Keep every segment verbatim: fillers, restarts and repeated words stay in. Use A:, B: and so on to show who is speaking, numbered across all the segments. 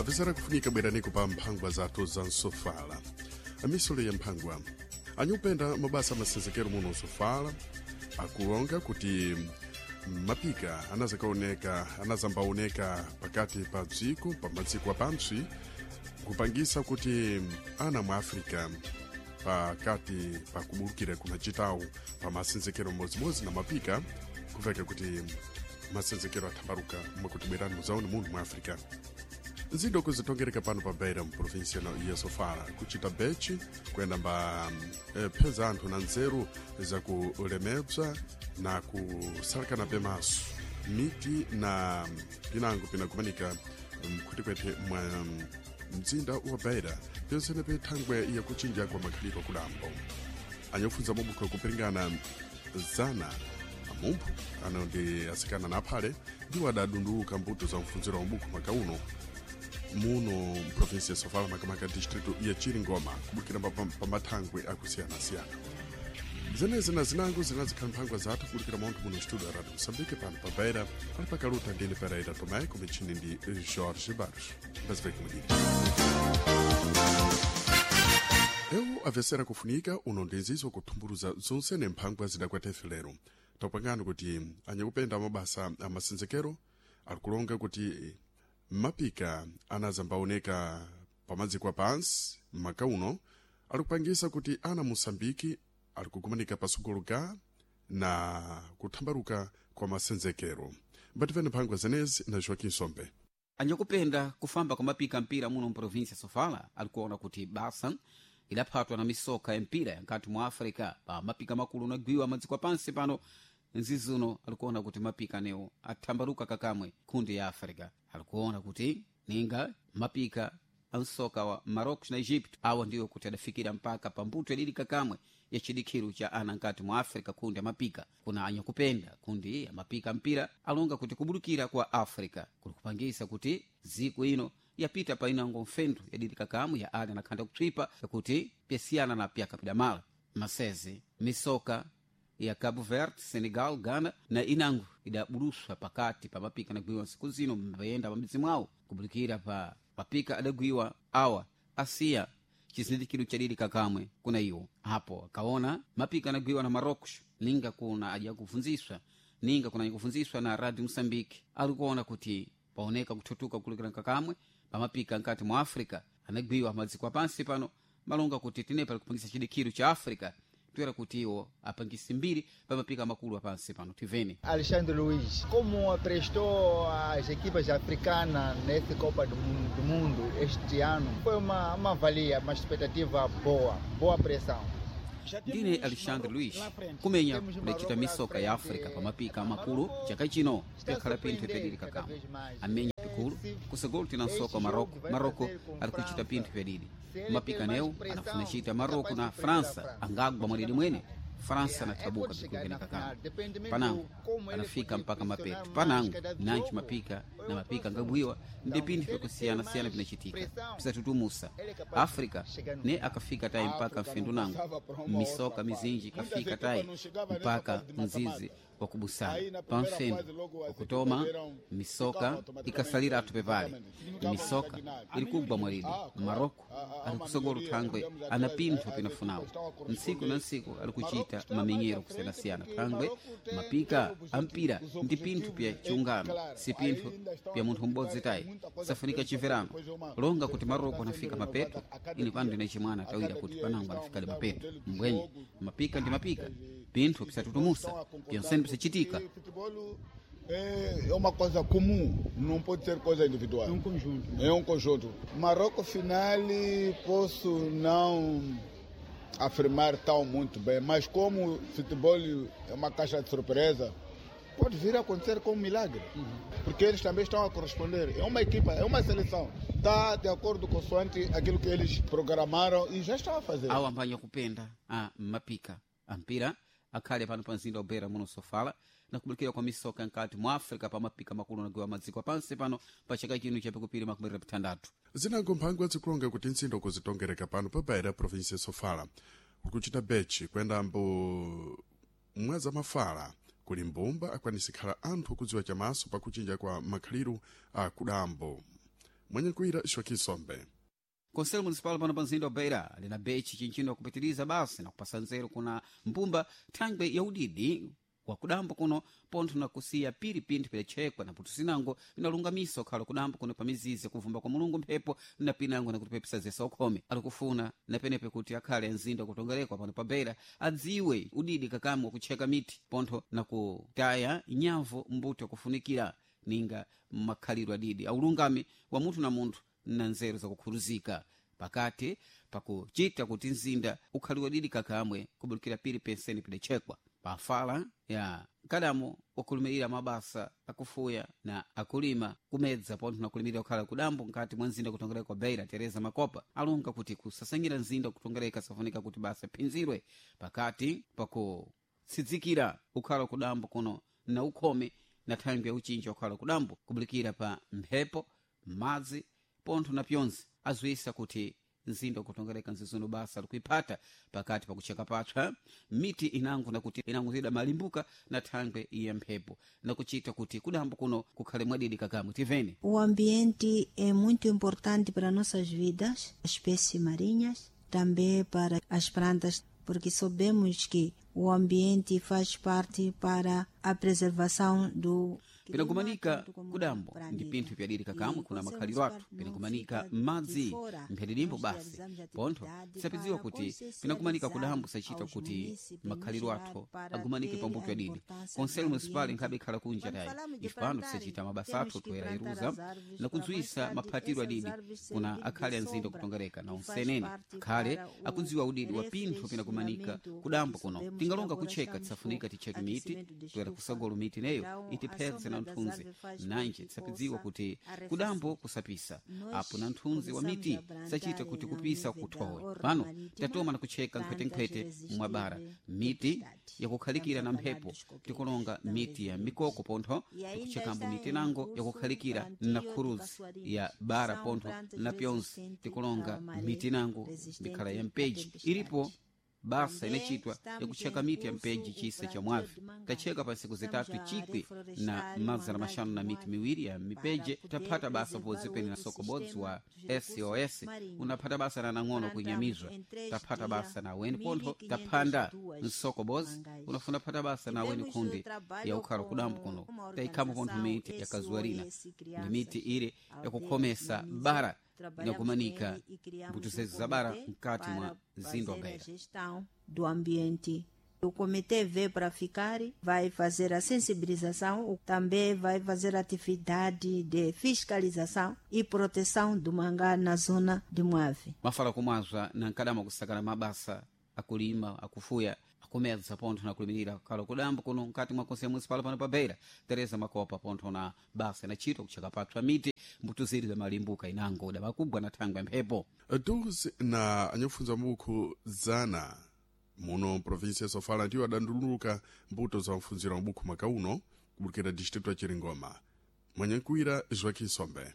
A: Apesara kufunika bweraniko pa mphangwa zathu za nsofala. Amisolo ya mphangwa anyupenda mabasa masenzekero muno nsofala akulonga kuti mapika anazakaoneka anazambaoneka pakati pa dziko pa madziko apantsi kupangisa kuti ana mwa Africa pakati pakubulukira kumachitawo pa masenzekero modzimodzi na mapika kuveka kuti masenzekero athambaluka mwakuti bwerani muzaone muno mwa Africa. Nzindo kuzitongereka pano pa Beira mprovinsia ya Sofala kuchita bechi kuyenda mba eh, pheza anthu na nzeru zakulemebza na kusalakana pemaso miti na pinango pinakumanika mkhwetikwete mwa mzinda wa Beira pyonsene pe thangwe yakuchinja kwa makhalidwe kudambo. Anyofunza mabukho kupiringana zana amumphu ano ndi asikana na aphale ndiwo adadunduluka mbuto za mfunziro wa mabukho mwaka uno muno mprovinsia ya Sofala makamaka distrito ya Chiringoma kubukira pa mathangwe akusiyana-siyana. Zenezi na zinango zinazikhala mphangwa zathu kubukira maunthu muno studio ya Radio Moçambique pano pa Beira ali pakaluta ndine Pereira Tomé kumichini ndi Jorge Barros. Mbaziveke mudini. Eu avesera kufunika uno ndi nzizo kuthumburuza zonse ne mphangwa zidakwathe lero. Topangani kuti anyakupenda mabasa amasenzekero alikulonga kuti mapika anazambaoneka pamadziko apansi maka uno alikupangisa kuti ana Moçambike alikukumanika pasukulu ga na kuthambaluka kwa masenzekero. Mbativene mphangwa zenezi na Joaquim Sombe.
B: Anyakupenda kufamba kwa mapika mpira muno mprovinsia Sofala alikuona kuti basa idaphatwa na misoka ya mpira nkati mwa Africa pa mapika makulu unagwiwa madziko apansi pano nzizuno alikuona kuti mapika anewo athambaluka kakamwe kundi ya Africa. Alikuona kuti ninga mapika ansoka wa Marocos na Egypt awa ndiwo kuti adafikira mpaka pambuto yadili kakamwe ya chidikhiru cha ana nkati mwa Africa kundi ya mapika. Kuna anyakupenda kundi ya mapika mpira alonga kuti kubulukira kwa Africa kulikupangisa kuti ziku ino yapita painango mfendu yadili kakamwe ya ana nakhanda kutswipa yakuti pyasiyana na pyakapidamala masezi misoka ya Cabo Verde, Senegal, Ghana na inango idabuluswa pakati pa mapika anagwiwa nsiku zino mbayenda pamidzi mwawo kubulikira pa mapika adagwiwa awa asiya chizindikiro chadili kakamwe kuna iwo apo akaona mapika anagwiwa na Marocos ninga kuna aja kufunziswa ninga kuna kufunziswa na Radio Mosambike alikuona kuti paoneka kuthutuka kulikira kakamwe pamapika nkati mwa Africa anagwiwa madziko apansi pano malonga kuti tinepa likupangisa chidikiro cha Africa toera kuti iwo apangise mbiri pamapika makulu apansi pano tivene.
C: Alexandre Luiz, como prestou as equipas africanas nessa Copa do Mundo, do Mundo este ano, foi uma, uma valia, uma expectativa boa, boa pressão.
B: Ndine Alexandre Luiz kumenya kudacita misoka ya Africa pamapika makulu chaka chino pyakhala pinthu pyadili kakamwe amenya pikulu kusogolo tina nsoka wa Marocco. Marocco ali kuchita pinthu pyadidi mapika newo anafuna chita Marocco na França angagwa mwadidi mwene França anathabuka pikulu kakamwe panango anafika mpaka mapeto panango nanji mapika na mapika ngabwiwa ndi pinthu pyakusiyana-siyana pinachitika pisatutumusa Africa ne akafika tayi mpaka mfendu nango misoka mizinji kafika tayi mpaka mzizi wakubusana pamfendu wakutoma misoka ikasalira atu pepale misoka ilikugwa mwalidi Maroko alikusogolo thangwe ana pinthu pinafunawo ntsiku na ntsiku alikuchita mamenyero kusiyanasiyana thangwe mapika ampira ndi pinthu pya chiungano si pinthu pya munthu m'bodzi tayi safunika chimverano longa kuti Maroko anafika mapeto ini pano ndine chimwana tawira kuti panango anafikale mapeto mbwenye mapika ndi mapika pinthu pisatutumusa pyonsene pisachitika.
D: É uma coisa comum, não pode ser coisa individual.
C: É um conjunto.
D: É um conjunto. Marrocos final posso não afirmar tão muito bem, mas como o futebol é uma caixa de surpresa, pode vir a acontecer com um milagre. Uhum. Porque eles também estão a corresponder. É uma equipa, é uma seleção. Está de acordo consoante aquilo que eles programaram e já estão a fazer.
B: Awo ambanya kupenda a mapika ampira akhale pano pa mzinda wa Beira muno Sofala nakubulikira kwa misoka nkati mwa Africa pa mapika makulu nagiwa madziko apansi pano pa chaka chino chapikupiri makumi pitandatu.
A: Zinango mphangwa zikulonga kuti ntsindo kuzitongereka pano pa Beira provinsia ya Sofala kukuchita bechi kuyenda mbo mwaza mafala kuli mbumba akwanisa khala anthu kudziwa chamaso pakuchinja kwa makhaliru a kudambo. Mwenye Joaquim Sombe.
B: Conselho Municipal pano pa mzinda wa Beira lina bechi chinchino kupitiliza basi na kupasa nzeru kuna mbumba thangwe ya udidi wa kudambo kuno pontho na kusiya piri pinthu pidachekwa na putu sinango vinalungamisa ukhala kudambo kuno pa mizizi kuvumba kwa mulungu mphepo na pinango nakutipepesa zesa ukhome alikufuna na penepe kuti akhale mzinda kutongerekwa pano pa Beira adziwe udidi kakamwe kutcheka miti pontho na kutaya nyavu mbuto kufunikira ninga makhalidwe adidi aulungami wa munthu na munthu na nzeru zakukhuluzika pakati pakuchita kuti mzinda ukhaliwe didi kakamwe kubulukira piri penseni pidachekwa pafala ya mkadamo wakulumirira mabasa akufuya na akulima kumedza pontho na kulimirira kukhala kudambo nkati mwa mzinda kutongereka kwa Beira Tereza Makopa alonga kuti kusasangira mzinda kutongereka safunika kuti basa phinzirwe pakati pakutsidzikira ukhala kudambo kuno na ukhome na thangwi ya uchinja ukhala kudambo kubulikira pa mphepo madzi pontho na pyonse azwisa kuti mzinda ukutongereka nzizuno basa likuiphata pakati pakucheka patswa miti inango nakuti inango zida malimbuka na thangwe ya mphepo nakuchita kuti kudambo kuno kukhale mwadidi kakamwe tivene.
E: O ambiente é muito importante para nossas vidas, as espécies marinhas, também para as plantas, porque sabemos que o ambiente faz parte para a preservação do
B: Pinakumanika kudambo ndi pinthu pyadiri kakamwe kuna makhaliro athu pinakumanika madzi mphatilimbo basi pontho tisapidziwa kuti pinakumanika kudambo sachita kuti makhaliro athu agumanike pambuto yadidi. Conselho Municipal nkhabe ikhala kunja tayi ife pano tisachita mabasa athu toyera iruza na kudziwisa maphatiro adidi kuna akhale anzinda kutongereka na unsenene akhale akudziwa udidi wa pinthu pinakumanika kudambo kuno tingalonga kucheka tisafunika ticheke miti toyera kusagolo miti neyo itiphedze na nthunzi nanje tisapidziwa kuti kudambo kusapisa apo na nthunzi wa miti sachita kuti kupisa kuthowe pano tatoma na kucheka nkhwetenkhwete mwabara miti yakukhalikira na mphepo tikulonga miti ya mikoko pontho tikuchekambo miti nango yakukhalikira na khuruzi ya bara pontho na pyonse tikulonga miti nango mikhala ya mpeji ilipo basa inachitwa yakucheka miti ya mpeji chisa cha mwavi tacheka pa siku zitatu chikwi na mazana mashanu na miti miwiri ya mipeje taphata basa pozipeni na sokobodzi wa S O S unaphata basa na nang'ono kuinyamizwa taphata basa na weni pontho taphanda msokobodzi unafuna phata basa na weni kundi ya ukhala kudambo kuno taikhambo pontho miti ya kazuarina ndi miti ile yakukhomesa bara inakumanika mbuto zezu za bara mkati mwa mzinda wa Beira.
E: Gestão do ambiente. O comitê veio para ficar, vai fazer a sensibilização, também vai fazer atividade de fiscalização e proteção do mangá na zona de Moave.
B: Mafala kumwazwa na nkadama kusakana mabasa akulima akufuya akumedza pontho na kulimirira kalo kudambo kuno mkati mwa konselho municipal pano pa Beira Tereza Makopa pontho na basa inachitwa kucheka patswa miti mbuto ziri za malimbuka inango damakugwa na thangwe ya mphepo.
A: Doze na anyakufunza mabukhu zana muno província ya Sofala ndiwo adanduluka mbuto za mfunziro mabukhu mwaka uno kubulukira distrito ya Chiringoma. Mwenyenkuira Joaquim Sombe.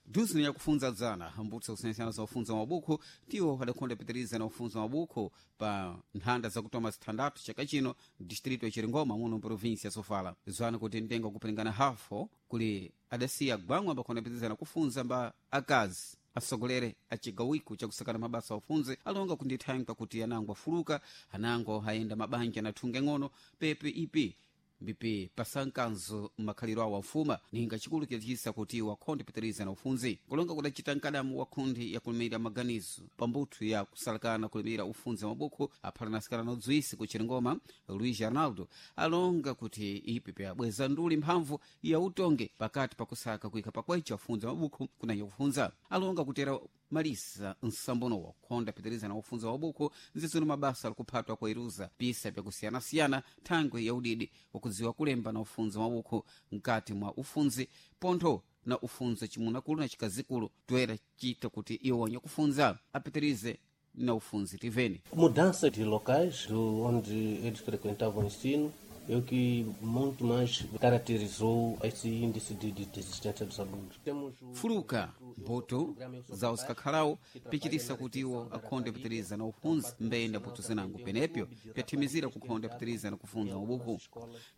B: Duzi yakufunza dzana mbuto zakusiyanasiyana za ufunza mabukhu ndiwo adakhonda pitiriza na ufunza mabukhu pa nthanda zakutoma zithandathu chaka chino distrito ya Chiringoma muno província ya Sofala zwana kuti mtengo kupilingana hafo kuli adasiya gwangwa ambakhonda pitiriza na kufunza mba akazi asogolere acigawiko chakusakana mabasa aufunze alonga kundithangwa kuti anango afuluka anango ayenda mabanja na thunga ng'ono pepe ipi mbipi pasankanzo makhaliro awo afuma ninga chikulu chidachisa kuti wakhonde pitiriza na ufunzi kulonga kudacita mkadamu wa khundi yakulimira maganizo pambuthu ya kusalakana kulimira ufunzi wa mabukhu aphalanasikana na udziwisi ku Chiringoma Luis Arnaldo alonga kuti ipi pyabweza nduli mphamvu ya utonge pakati pakusaka kuika pakwecha ufunzi wa mabukhu kunanya kufunza alonga kutera malisa nsambono wakhonda pitiriza na ufunza wa buku nzizuno mabasa alikuphatwa kwa iruza pisa pyakusiyanasiyana thangwe ya udidi wakudziwa kulemba na ufunzi wa buku mkati mwa ufunzi pontho na ufunzi chimunakulu na chikazikulu toera chita kuti iwo kufunza apitirize na ufunzi tiveni.
F: Mudança de locais do onde eles frequentavam o ensino é o que muito mais caracterizou esse índice de, de desistência dos alunos. Temos o
B: Fuluka ndi Mbuto zawo zikakhalawo pichitisa kuti iwo akhonde pitiriza na ufunzi mbeyenda mbuto zinango penepyo pyathimizira kukhonda pitiriza na kufunza mabuku.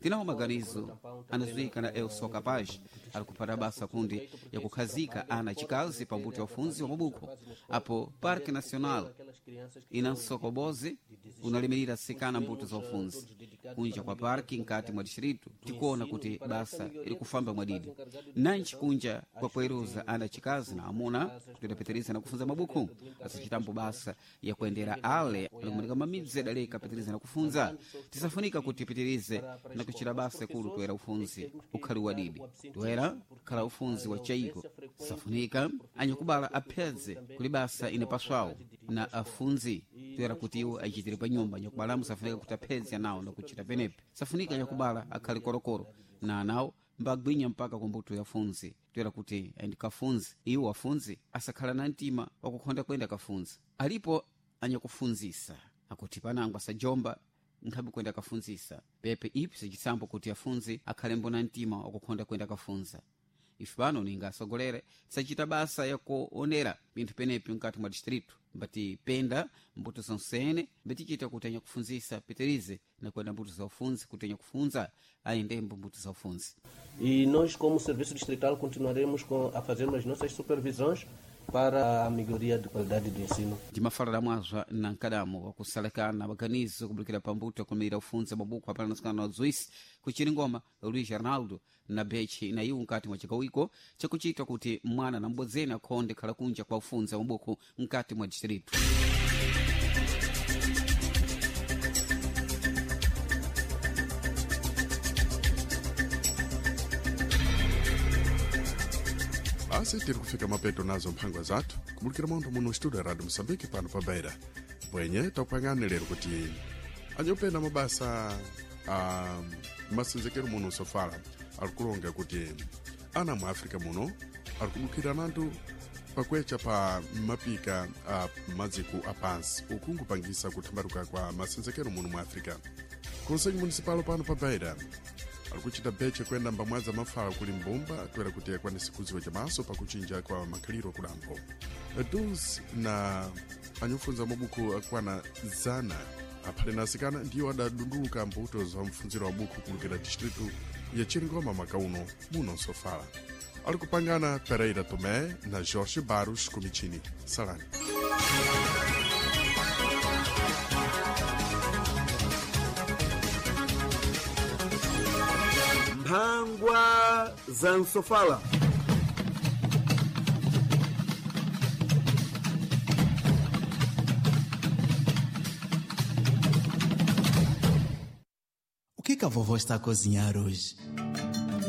B: Tinawo maganizo anazuika na Eu Sou Capaz ali kuphata basa kundi yakukhazika ana chikazi pa mbuto ya ufunzi wa mabuku. Apo Parque Nacional ina msokobozi unalimirira sikana mbuto za ufunzi kunja kwa parki nkati mwa distrito tikuona kuti basa iri kufamba mwadidi nanchi kunja kwa kueruza ana chikazi na amuna kuti na kufunza mabuku asichitambo basa ya kuendera ale alikumanika mamidzi adaleka pitiriza na kufunza. Tisafunika kuti pitirize na kuchita basa kulu toera ufunzi ukhali wadidi toera khala ufunzi wa chaiko. Safunika anyakubala aphedze kuli basa inapaswawo na afunzi toera kuti iwo achitire pa nyumba. Anyakubala musafunika kuti aphedze anawo na kuchita penepe. Safunika anyakubala akhale korokoro na anawo mbagwinya mpaka kumbuto ya funzi toera kuti andikafunzi iwo afunzi asakhala na mtima wakukhonda kwenda kafunzi. Alipo anyakufunzisa akuti panango asajomba nkhabe kwenda kafunzisa pepe ipi sichisambo kuti afunzi akhalembo na mtima wakukhonda kwenda kafunza. Ife pano ninga asogolere tisachita basa yakuonera pinthu penepi mkati mwa distrito mbati penda mbuto zonsene mbatichita kuti anyakufunzisa pitirize na kwenda mbuto za ufunzi kuti anyakufunza ayendembo mbuto za ufunzi.
F: E nós, como Serviço Distrital, continuaremos com, a fazer as nossas supervisões para a melhoria de qualidade do ensino.
B: Ndimafalira mwazwa na nkadamo wakusalekana maganizo kubulukira pambuto akumira ufunza mabuku apana nasikana na zuisi kuchiringoma Luiz Arnaldo na bechi na iwu nkati mwa chikawiko chakuchita kuti mwana na mbodzeni akhonde khala kunja kwa ufunza mabuku nkati mwa distrito.
A: Basi tiri kufika mapeto nazo mphangwa zathu kubulukira montho muno studio ya Radio Moçambique pano pa Beira. Bwenye takupangani lero kuti anyopenda mabasa a masenzekero muno sofala ali kulonga kuti ana mu África muno ali kubukira nantu pakwecha pa mapika a madziko apansi uku nkupangisa kuthambaluka kwa masenzekero muno mu África. Conselho Municipal pano pa Beira ali kuchita beche kuyenda mbamwadza mafala kuli mbumba toera kuti akwanise kudziwa chamaso pakuchinja kwa makhaliro kudambo dus na anyofunza mabuku akwana zana aphale na asikana ndiwo adadunduluka mbuto za mfunziro wa buku kulukira distrito ya Chiringoma mwaka uno muno Sofala. Ali kupangana Pereira Tomé na Jorge Barros Comitini. Salani.
G: Mphangwa za Nsofala.
H: O que que a vovó está a cozinhar hoje?